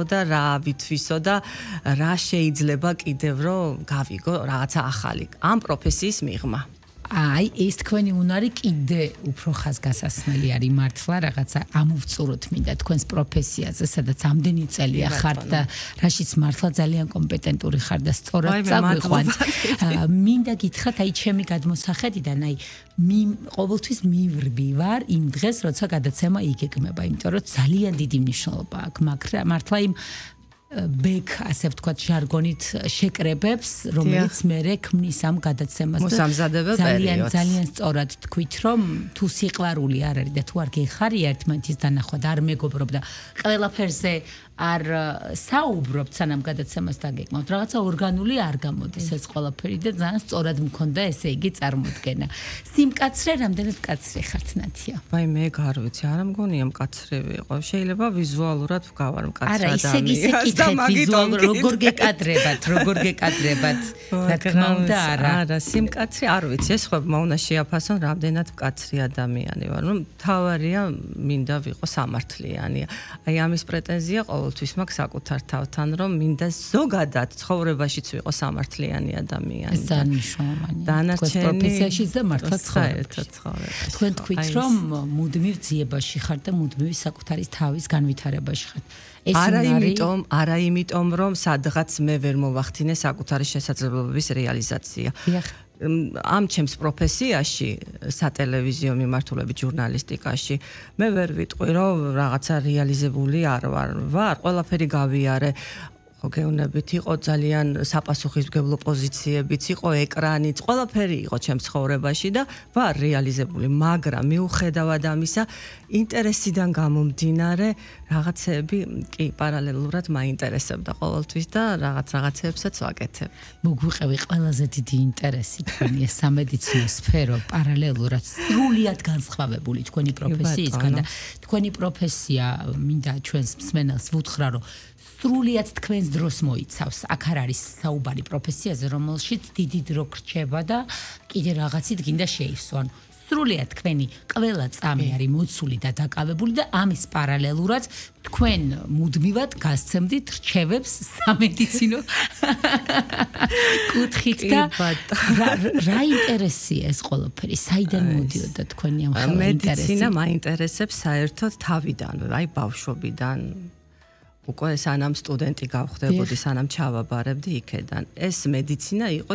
და რა ვითვისო და რა შეიძლება კიდევ რომ გავიგო რაღაცა ახალი ამ პროფესიის მიღმა. აი ეს თქვენი უნარი კიდე უფრო ხაზგასასმელი არის მართლა რაღაცა ამოვწუროთ მინდა თქვენს პროფესიაზე სადაც ამდენი წელია ხართ და რაშიც მართლა ძალიან კომპეტენტური ხარ და სწორად წაგვიყვანთ მინდა გითხრათ აი ჩემი გადმოსახედიდან აი ყოველთვის მივრბი ვარ იმ დღეს როცა გადაცემა იგეგმება იმიტომ რომ ძალიან დიდი მნიშვნელობა აქვს მართლა იმ ბექ ასე ვთქვათ ჟარგონით შეკრებებს რომელიც მე ქმნის ამ გადაცემას ძალიან სწორად თქვით რომ თუ სიყვარული არ არის და თუ არ გეხარია ერთმანეთის დანახვა და არ მეგობრობ და ყველაფერზე არ საუბრობთ სანამ გადაცემას დაგეკმავთ რაღაცა ორგანული არ გამოდის ეს ყველაფერი და ძალიან სწორად მქონდა ესე იგი წარმოდგენა სიმკაცრე რამდენად კაცრი ხართ ნათია ვაი მე არ ვიცი არა მგონია მკაცრები იყო შეიძლება ვიზუალურად ვგავარ მკაცრი ადამიანი და მაგიტომ როგორ გეკადრებათ რა თქმა უნდა არა სიმკაცრი არ ვიცი ეს ხო მაუნა შეაფასონ რამდენად მკაცრი ადამიანი ვარ რომ თავარია მინდა ვიყო სამართლიანი აი ამის პრეტენზია ყოველთვის მაქვს საკუთარ თავთან რომ მინდა ზოგადად ცხოვრებაშიც ვიყო სამართლიანი ადამიანი ეს დანიშნულოვანია თქვენ პროფესიაშიც და მართლა ცხოვრებაში თქვენ თქვით რომ მუდმივ ძიებაში ხართ და მუდმივი საკუთარი თავის განვითარებაში ხართ არა იმიტომ რომ სადღაც მე ვერ მოვახდინე საკუთარი შესაძლებლობების რეალიზაცია ამ ჩემს პროფესიაში სატელევიზიო მიმართულებით ჟურნალისტიკაში მე ვერ ვიტყვი რომ რაღაცა რეალიზებული არ ვარ ყველაფერი გავიარე გეუბნებით იყო ძალიან საპასუხისმგებლო პოზიციებიც იყო ეკრანიც ყველაფერი იყო ჩემს ცხოვრებაში და ვარ რეალიზებული მაგრამ მიუხედავად ამისა ინტერესიდან გამომდინარე რაღაცები კი პარალელურად მაინტერესებდა ყოველთვის და რაღაცებსაც ვაკეთებ მოგვიყევი ყველაზე დიდი ინტერესი თქვენი ეს სამედიცინო სფერო პარალელურად სრულიად განსხვავებული თქვენი პროფესიისგან და თქვენი პროფესია მინდა ჩვენს მსმენელს ვუთხრა რომ სრულიად თქვენს დროს მოიცავს. აქ არ არის საუბარი პროფესიაზე, რომელშიც დიდი დრო გრჩება და კიდე რაღაცით გინდა შეივსო. ანუ სრულიად თქვენი ყველა წამი არის მოცული და დაკავებული და ამის პარალელურად თქვენ მუდმივად გასცემდით რჩევებს სამედიცინო კუთხით და რა ინტერესია ეს ყველაფერი? საიდან მოდიოდა თქვენი ამ ხელა ინტერესი? მედიცინა მაინტერესებს საერთოდ თავიდან, აი ბავშვობიდან. უკვე სანამ სტუდენტი გავხდებოდი, სანამ ჩავაბარებდი იქედან. ეს მედიცინა იყო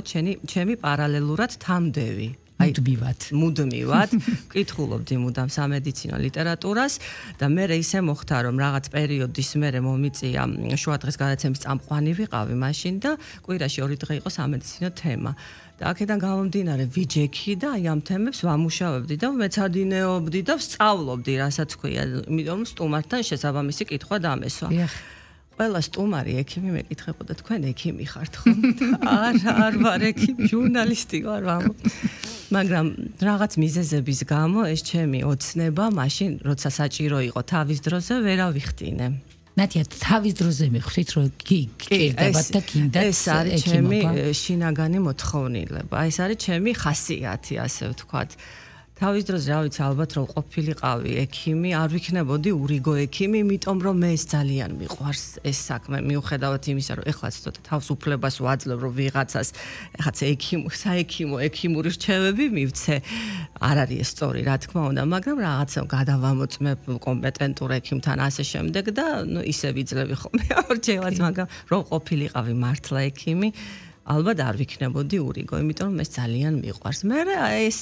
ჩემი პარალელურად თამდევი. მუდმივად ვკითხულობდი მუდამ სამედიცინო ლიტერატურას და მე ისე მოხდა რომ რაღაც პერიოდის მერე მომიწია შუადღეს გადაცემის წამყვანი ვიყავი მაშინ და კვირაში 2 დღე იყო სამედიცინო თემა. და აქედან გამომდინარე ვიჯექი და აი ამ თემებს ვამუშავებდი და მეცადინეობდი და ვსწავლობდი, რასაც ქვია, იმიტომ რომ სტუმართან შესაბამისი კითხვა დამესვა. ყველა სტუმარი ექიმი მეკითხებოდა, თქვენ ექიმი ხართ ხო? არ ვარ ექიმი, ჟურნალისტი ვარ, მაგრამ რაღაც მიზეზების გამო ეს ჩემი ოცნება მაშინ როცა საჭირო იყო თავის დროზე ვერ ავიხდინე. ნათია თავის დროზე მიხვრით რომ გიკერდებათ და გინდათ ეს არის ჩემი შინაგანი მოთხოვნილება. ეს არის ჩემი ხასიათი, ასე ვთქვათ. თავის დროზე რა ვიცი ალბათ რომ ყოფილიყავი ექიმი, არ ვიქნებოდი ურიგო ექიმი, იმიტომ რომ მე ეს ძალიან მიყვარს ეს საქმე, მიუხედავად იმისა რომ ეხლაც ცოტა თავისუფლებას ვაძლევ რომ ვიღაცას ეხაც ექიმური რჩევები მივცე. არ არის ეს სწორი, რა თქმა უნდა, მაგრამ რაღაცა გადავამოწმებ კომპეტენტურ ექიმთან ასე შემდეგ და ისე ვიძლევი ხოლმე ორჩევას, მაგრამ რომ ყოფილიყავი მართლა ექიმი ალბათ არ ვიქნებოდი ურიგო, იმიტომ რომ ეს ძალიან მიყვარს. მე ეს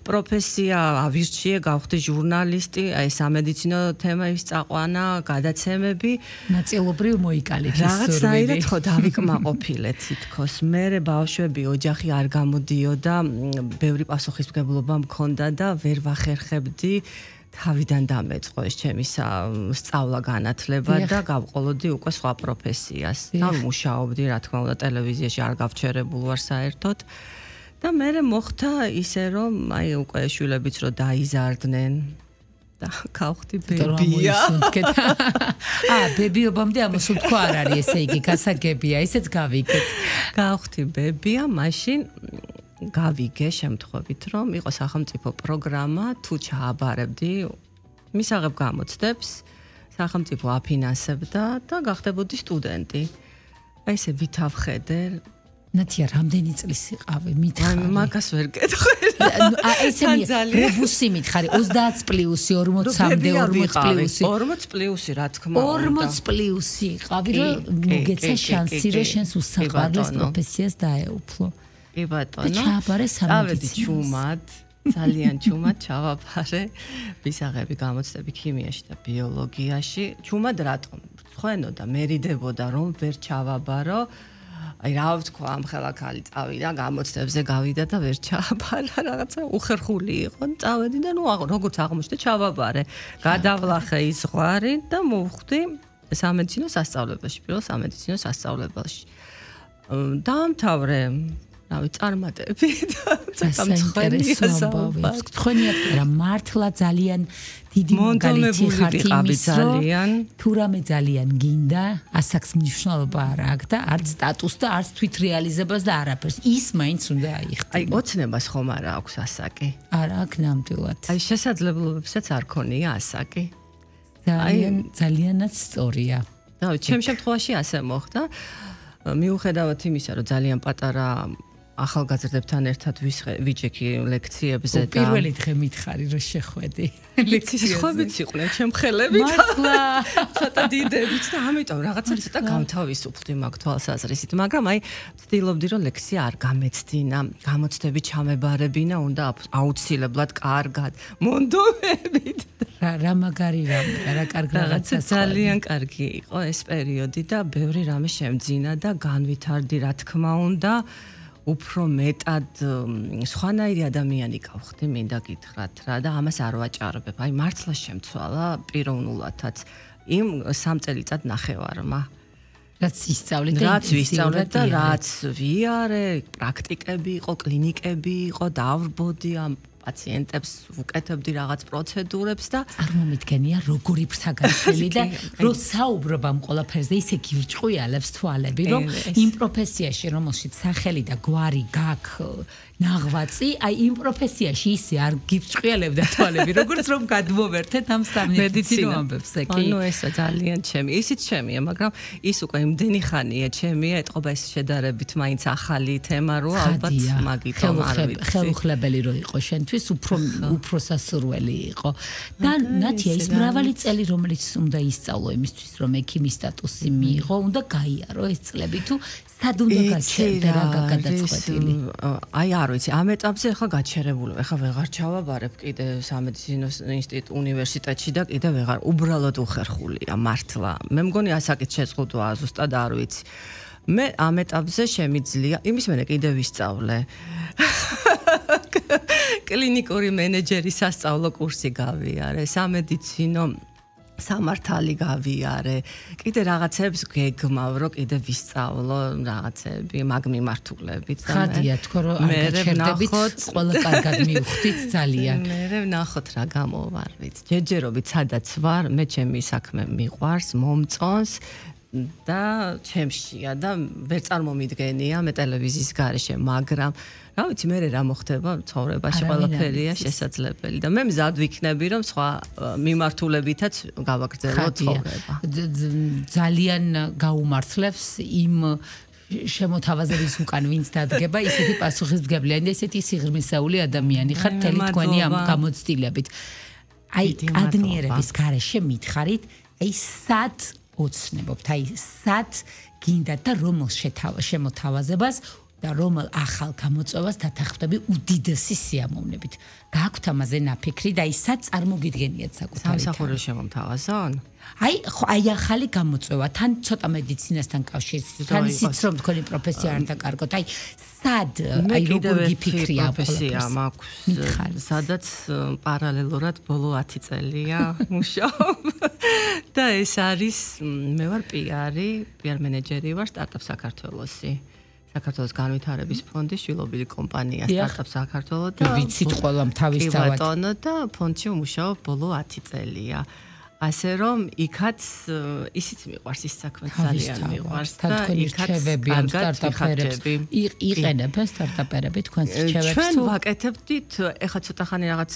პროფესია ავირჩიე, გავხდი ჟურნალისტი, აი სამედიცინო თემების წაყვანა, გადაცემები, ნაწილობრივ მოიკალეთ ის სურვილი. რაღაცნაირად ხო დავიკმაყოფილე თითქოს. მე ბავშვები, ოჯახი არ გამოდიოდა, ბევრი პასუხისმგებლობა მქონდა და ვერ ვახერხებდი თავიდან დამეწყო ეს ჩემი სწავლა განათლება და გავყოლოდი უკვე სხვა პროფესიას. დავმუშაობდი, რა თქმა უნდა, ტელევიზიაში არ გავჩერებულ ვარ საერთოდ. და მე მოხდა ისე რომ აი უკვე შვილებიც რო დაიზარდნენ და გავხდი ბებია. ბებიობამდე ამასულ თქვა არ არის ესე იგი გასაგებია, ისეც გავიგეთ. გავხდი ბებია, მაშინ გავიგე შემთხვევით რომ იყო სახელმწიფო პროგრამა თუ ჩააბარებდი მისაღებ გამოცდებს სახელმწიფო აფინანსებდა და გახდებოდი სტუდენტი. აი ესე ვითავხედე. ნათია, რამდენი წლის იყავი? მითხარი. მაგას ვერ გეტყვი. ესე რებუსი მითხარი 30 პლუსი 40-მდე 40 პლუსი 40 პლუსი რა თქმა უნდა 40 პლუსი იყავი რომ მოგეცა შანსი რომ შენს უსაყვარლეს პროფესიას დაეუფლო კი ბატონო ჩააბარე სამედიცინო ჩუმად ძალიან ჩუმად ჩავაბარე ვისაღები გამოცდები ქიმიაში და ბიოლოგიაში ჩუმად რატომ ხვენო და მერიდებოდა რომ ვერ ჩავაბარო აი რა ვთქვა ამ ხელაქალი წავიდა გამოცდებზე გავიდა და ვერ ჩააბარა რაღაცა უხერხული იყო წავედი და ნუ როგორც აღმოჩნდა ჩავაბარე გადავლახე ის ზღვარი და მოვხვდი სამედიცინო სასწავლებელში პირველ სამედიცინო სასწავლებელში დაამთავრე რავი წარმატები და საინტერესო ამბავი თქვენიათ რა მართლა ძალიან დიდი მაგალითი ხართ იმის რომ თუ რამე ძალიან გინდა ასაკს მნიშვნელობა არ აქვს და არც სტატუსს და არც თვითრეალიზებას და არაფერს ის მაინც უნდა აიხტინა აი ოცნებას ხომ არა აქვს ასაკი არა აქვს ნამდვილად აი შესაძლებლობებსაც არ ქონია ასაკი ძალიანაც სწორია რავი ჩემ შემთხვევაში ასე მოხდა მიუხედავად იმისა რომ ძალიან პატარა ახალგაზრდებთან ერთად ვიჯექი ლექციებზე და პირველი დღე მითხარი რომ შეხვედი ლექციის ხვებიც იყვნენ ჩემ ხელებით მართლა ცოტა დიდებით და ამიტომ რაღაცა ცოტა გამთავისუფლდი მაგ თვალსაზრისით მაგრამ აი ვცდილობდი რომ ლექცია არ გამეცდინა გამოცდები ჩამებარებინა უნდა აუცილებლად კარგად მონდომებით რა მაგარი რა კარგ რაღაცა ძალიან კარგი იყო ეს პერიოდი და ბევრი რამე შემძინა და განვითარდი რა თქმა უნდა უფრო მეტად სხვანაირი ადამიანი გავხდი მინდა გითხრათ რა და ამას არ ვაჭარბებ აი მართლა შემცვალა პიროვნულადაც იმ 3 წელიწად ნახევარმა რაც ისწავლეთ რაც ვისწავლეთ და რაც ვიარე პრაქტიკები იყო კლინიკები იყო დავრბოდი ამ პაციენტებს უკეთებდი რაღაც პროცედურებს და არ მომიდგენია როგორი ფრთაგაშელი და რომ საუბრობ ამ ყველაფერზე ისე გირჭყვიალებს თვალები რომ იმ პროფესიაში რომელშიც სახელი და გვარი გაქვს ნაღვაწი აი იმ პროფესიაში ისე არ გირჭყვიალებდა თვალები როგორც რომ გადმოვერთეთ ამ სამედიცინო ამბებს კი ანუ ესა ძალიან ჩემი ისიც ჩემია მაგრამ ის უკვე იმდენი ხანია ჩემია ეთყობა ეს შედარებით მაინც ახალი თემა რო ალბათ მაგიტომ არ ვიცი ხელუხლებელი რო იყო შენთვის უფრო სასურველი იყო და ნათია ის მრავალი წელი რომელიც უნდა ისწავლო იმისთვის რომ ექიმის სტატუსი მიიღო უნდა გაიარო ეს წლები თუ სად უნდა გაჩერდე რა გადაწყვეტილი აი არ ვიცი ამ ეტაპზე ახლა გაჩერებული ახლა ვეღარ ჩავაბარებ კიდე სამედიცინო ინსტიტუტ უნივერსიტეტში და კიდე ვეღარ უბრალოდ უხერხულია მართლა მე მგონი ასაკით შეზღუდვა ზუსტად არ ვიცი მე ამ ეტაპზე შემიძლია იმის მერე კიდე ვისწავლე კლინიკური მენეჯერის სასწავლო კურსი გავიარე სამედიცინო სამართალი გავიარე კიდე რაღაცებს გეგმავ რომ კიდე ვისწავლო რაღაცები მაგ მიმართულებით და ხადია თქო რომ არ გაჩერდებით ყველა კარგად მივხვდით ძალიან მე ვნახოთ რა გამოვარ ვიცი ჯერჯერობით სადაც ვარ მე ჩემი საქმე მიყვარს მომწონს და ჩემშია და ვერ წარმომიდგენია მე ტელევიზიის გარეშე მაგრამ რა ვიცი მე რა მოხდება ცხოვრებაში ყველაფერია შესაძლებელი და მე მზად ვიქნები რომ სხვა მიმართულებითაც გავაგრძელო ცხოვრება ძალიან გაუმართლებს იმ შემოთავაზების უკან ვინც დადგება ისეთი პასუხისმგებლიანი და ისეთი სიღრმისეული ადამიანი ხარ თელი თქვენი ამ გამოცდილებით აი კადნიერების გარეშე მითხარით აი სად ოცნებობთ აი სად გინდა და რომელ შემოთავაზებას და რომელ ახალ გამოწვევას დათანხმდები უდიდესი სიამოვნებით. გააქვთ ამაზე ნაფიქრი და ის სად წარმოგიდგენიათ საკუთარი სამსახური შემომთავაზონ? აი ახალი გამოწვევა, თან ცოტა მედიცინასთან კავშირით, თან ისიც რომ თქვენი პროფესია არ დაკარგოთ. აი სად აი როგორ გიფიქრია პროფესია მაქვს? სადაც პარალელურად ბოლო 10 წელია მუშაობ. და ეს არის მე ვარ PR მენეჯერი ვარ სტარტაპ საქართველოსი. საქართველოს განვითარების ფონდის შვილობილი კომპანია სტარტაპ საქართველო და ვიცით ყველამ თავისთავად. და ფონდში ვმუშაობ ბოლო 10 წელია. ასე რომ იქაც ისიც მიყვარს ის საქმე ძალიან მიყვარს და იქაც სტარტაპერები იყენებენ სტარტაპერები თქვენს რჩევებს ჩვენ ვაკეთებდით ეხლა ცოტა ხანი რაღაც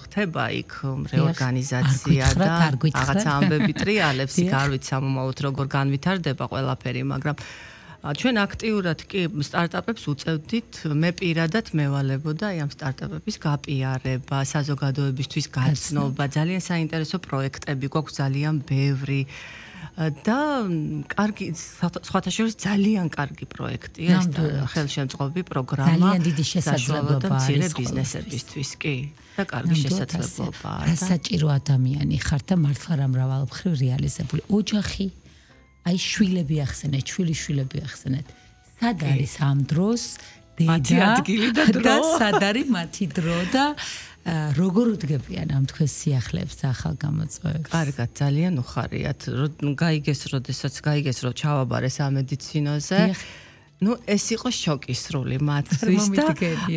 ხდება იქ რეორგანიზაცია და რაღაც ამბები ტრიალებს იქ არ ვიცი ამომაოდ როგორ განვითარდება ყველაფერი მაგრამ ჩვენ აქტიურად კი სტარტაპებს უწევდით, მე პირადად მევალებოდა აი ამ სტარტაპების გაპიარება, საზოგადოებისთვის გაცნობა, ძალიან საინტერესო პროექტები გვაქვს ძალიან ბევრი და კარგი სხვათა შორის ძალიან კარგი პროექტია ეს ხელშემწყობი პროგრამა. ძალიან დიდი შესაძლებლობა არის ბიზნესებისთვის კი და კარგი შესაძლებლობაა. რა საჭირო ადამიანი ხარ და მართლა რა მრავალმხრივ რეალიზებული ოჯახი აი შვილები ახსენეთ, შვილიშვილები ახსენეთ. სად არის ამ დროს მათი ადგილი და დრო? და სად არის მათი დრო და როგორ უდგებიან ამ თქვენ სიახლეებს და ახალ გამოწვევებს? კარგად, ძალიან უხარიათ. გაიგეს, როდესაც გაიგეს, რომ ჩავაბარე სამედიცინოზე. Ну, ეს იყო შოკისრული მათთვის და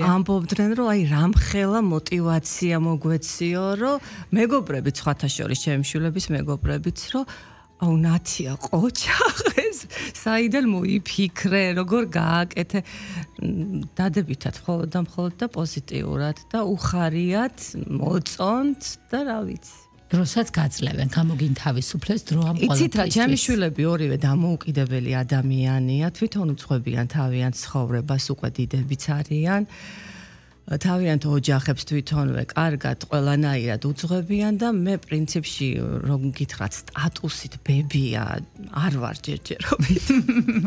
ამბობდნენ, რომ აი რამხელა мотиваცია მოგვეციო, რომ მეგობრებიც სხვათა შორის, ჩემი შვილების მეგობრებიც, რომ აუ ნათია ყოჩაღეს საიდან მოიფიქრე როგორ გააკეთე დადებითად მხოლოდ და პოზიტიურად და უხარიათ მოწონთ და რა ვიცი დროსაც გაძლევენ გამოგინ თავისუფლეს დრო ამ ყველაფერს იცით რა ჩემი შვილები ორივე დამოუკიდებელი ადამიანია თვითონ უძღვებიან თავიანთ ცხოვრებას უკვე დიდებიც არიან თავიანთ ოჯახებს თვითონვე კარგად ყველანაირად უძღვებიან და მე პრინციპში რომ გითხრათ სტატუსით ბებია არ ვარ ჯერჯერობით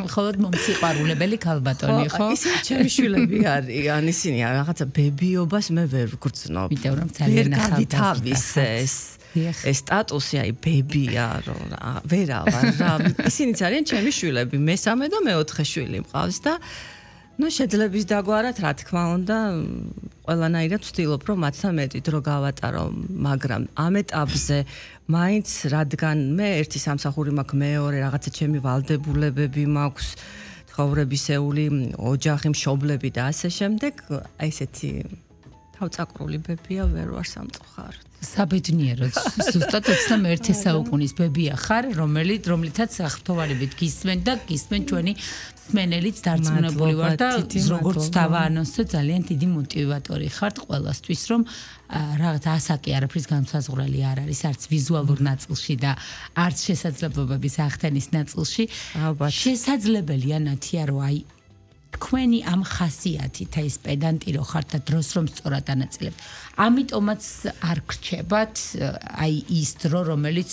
მხოლოდ მომსიყვარულებელი ქალბატონი ხო ისინი ჩემი შვილები არიან ისინი რაღაცა ბებიობას მე ვერ ვგრძნობ იმიტომ რომ ძალიან ახალგაზრდა ეს სტატუსი აი ბებია რომ ვერა ვარ რა ისინიც არიან ჩემი შვილები მესამე და მეოთხე შვილი მყავს და ну შეძლების დაგვარად რა თქმა უნდა ყველანაირად ვცდილობ რომ მათთან მეტი დრო გავატარო მაგრამ ამ ეტაპზე მაინც რადგან მე ერთი სამსახური მაქვს მეორე რაღაცა ჩემი ვალდებულებები მაქვს ცხოვრებისეული ოჯახი მშობლები და ასე შემდეგ აი ესეთი თავწაკრული ბებია ვერ ვარ სამწუხაროდ საბედნიეროდ ზუსტად 21 საუკუნის ბებია ხარ რომლითაც აღფრთოვანებით გისმენ და გისმენ ჩვენი მსმენელიც დარწმუნებული ვარ და როგორც დავაანონსე ძალიან დიდი мотиваტორი ხართ ყველასთვის რომ რაღაც ასაკი არაფრის განსაზღვრელი არ არის არც ვიზუალურ ნაწილში და არც შესაძლებლობების ახდენის ნაწილში შესაძლებელია ნათია რომ აი თქვენი ამ ხასიათით აი ეს პედანტი რო ხართ და დროს რომ სწორად ანაწილებთ. ამიტომაც არ გრჩებათ აი ის დრო რომელიც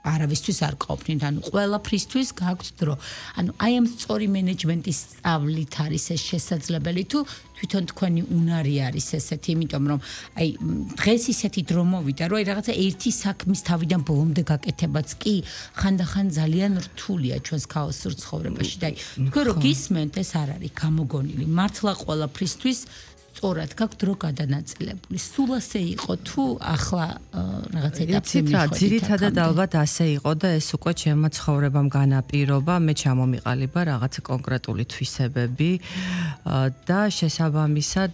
არავისთვის არ ყოფნით. ანუ ყველაფრისთვის გაქვთ დრო. ანუ აი ამ სწორი მენეჯმენტის სწავლით არის ეს შესაძლებელი თუ თვითონ თქვენი უნარი არის ესეთი, იმიტომ რომ აი დღეს ისეთი დრო მოვიდა, რომ აი რაღაცა ერთი საქმის თავიდან ბოლომდე გაკეთებაც კი ხანდახან ძალიან რთულია ჩვენს ქაოსურ ცხოვრებაში და აი თქვენ რო გისმენთ ეს არ არის გამოგონილი. მართლა ყველაფრისთვის სწორად გაქვთ დრო გადანაწილებული. სულ ასე იყო თუ ახლა რაღაც ეტაპზე მიხვედით? ძირითადად ალბათ ასე იყო და ეს უკვე ჩემმა ცხოვრებამ განაპირობა. მე ჩამომიყალიბა რაღაც კონკრეტული თვისებები და შესაბამისად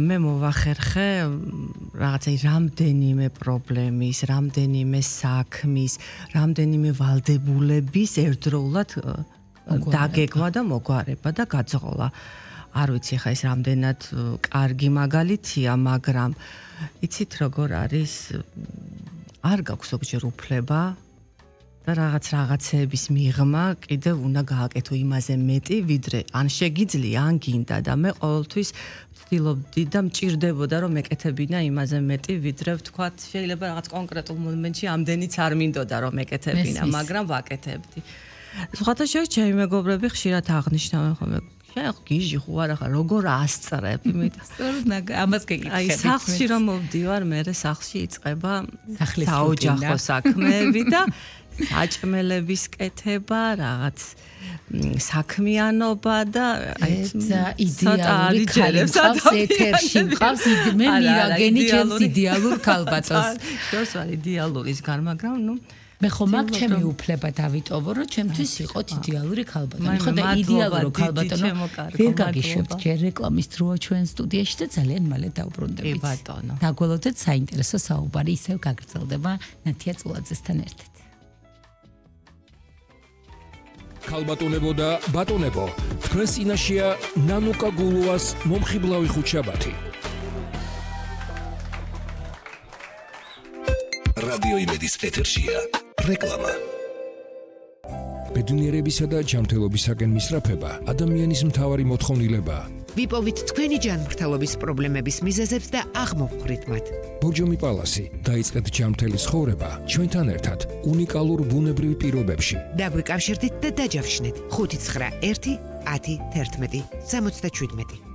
მე მოვახერხე რაღაცა რამდენიმე პრობლემის, რამდენიმე საქმის, რამდენიმე ვალდებულების ერთდროულად დაგეგმა და მოგვარება და გაძღოლა. არ ვიცი ხა ეს რამდენად კარგი მაგალითია, მაგრამ იცით როგორ არის არ გაქვს ზოგჯერ უფლება და რაღაცეების მიღმა კიდევ უნდა გააკეთო იმაზე მეტი, ვიდრე ან შეგიძლია, ან გინდა და მე ყოველთვის ვცდილობდი და მჭირდებოდა რომ მეკეთებინა იმაზე მეტი, ვიდრე ვთქვათ, შეიძლება რაღაც კონკრეტულ მომენტში ამდენიც არ მინდოდა რომ მეკეთებინა, მაგრამ ვაკეთებდი. სხვათა შორის ჩემი მეგობრები ხშირად აღნიშნავენ ხოლმე შენ გიჟი ხო არა ხარ როგორ ასწრებ სწორედ ამას გეკითხები აი სახლში რომ მოვდივარ მე სახლში იწყება საოჯახო საქმეები და საჭმელების კეთება რაღაც საქმიანობა და აი იდეალური ქალებს ეთერში მყავს მე მირაგენი ჩემს იდეალურ ქალბატონს შორს ვარ იდეალურის გარ მაგრამ ნუ მე ხომ აქ ჩემი უფლება დავიტოვო, რომ ჩემთვის იყოთ იდეალური ქალბატონი. ხო და იდეალური ქალბატონი ვერ გაგიშვებთ ჯერ რეკლამის დროა ჩვენ სტუდიაში და ძალიან მალე დავბრუნდებით. კი ბატონო. დაგველოდეთ საინტერესო საუბარი ისევ გაგრძელდება ნათია წულაძესთან ერთად. ქალბატონებო და ბატონებო, თქვენ წინაშეა ნანუკა გულუას მომხიბლავი ხუთშაბათი. რადიო იმედის ეთერშია რეკლამა. ბედნიერებისა და ჯანმრთელობისაკენ მისწრაფება ადამიანის მთავარი მოთხოვნილებაა. ვიპოვით თქვენი ჯანმრთელობის პრობლემების მიზეზებს და აღმოვხვრით მათ. ბორჯომი პალასი, დაიწყეთ ჯანმრთელი ცხოვრება ჩვენთან ერთად უნიკალურ ბუნებრივ პირობებში. დაგვიკავშირდით და დაჯავშნეთ 591 10 11 77.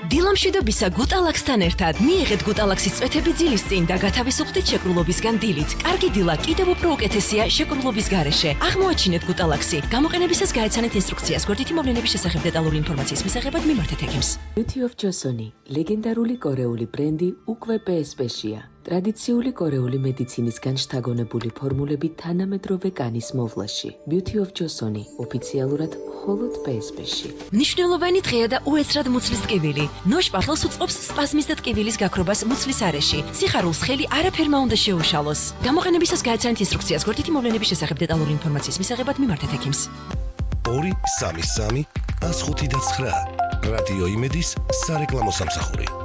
დილამშვიდობისა გუტალაქსთან ერთად მიიღეთ გუტალაქსის წვეთები ძილის წინ და გათავისუფლდით შეკრულობისგან დილით. კარგი დილა კიდევ უფრო უკეთესია შეკრულობის გარეშე. აღმოაჩინეთ გუტალაქსი. გამოყენებისას გაეცანეთ ინსტრუქციას. გვერდითი მოვლენების შესახებ დეტალური ინფორმაციის მისაღებად მიმართეთ ექიმს. Beauty of Joseon, ლეგენდარული კორეული ბრენდი უკვე PSP-შია. ტრადიციული კორეული მედიცინისგან შთაგონებული ფორმულები თანამედროვე კანის მოვლაში. Beauty of Joseon ოფიციალურად მხოლოდ PSP-ში. მნიშვნელოვანი დღეა და უეცრად მუცლის ტკივილი. ნოშპახელს უწყობს სპაზმის და ტკივილის გაქრობას მუცლის არეში. სიხარულს ხელი არაფერმა უნდა შეუშალოს. გამოყენებისას გაეცანეთ ინსტრუქციას. გვერდითი მოვლენების შესახებ დეტალური ინფორმაციის მისაღებად მიმართეთ ექიმს. 233 105 და 9 რადიო იმედის სარეკლამო სამსახური.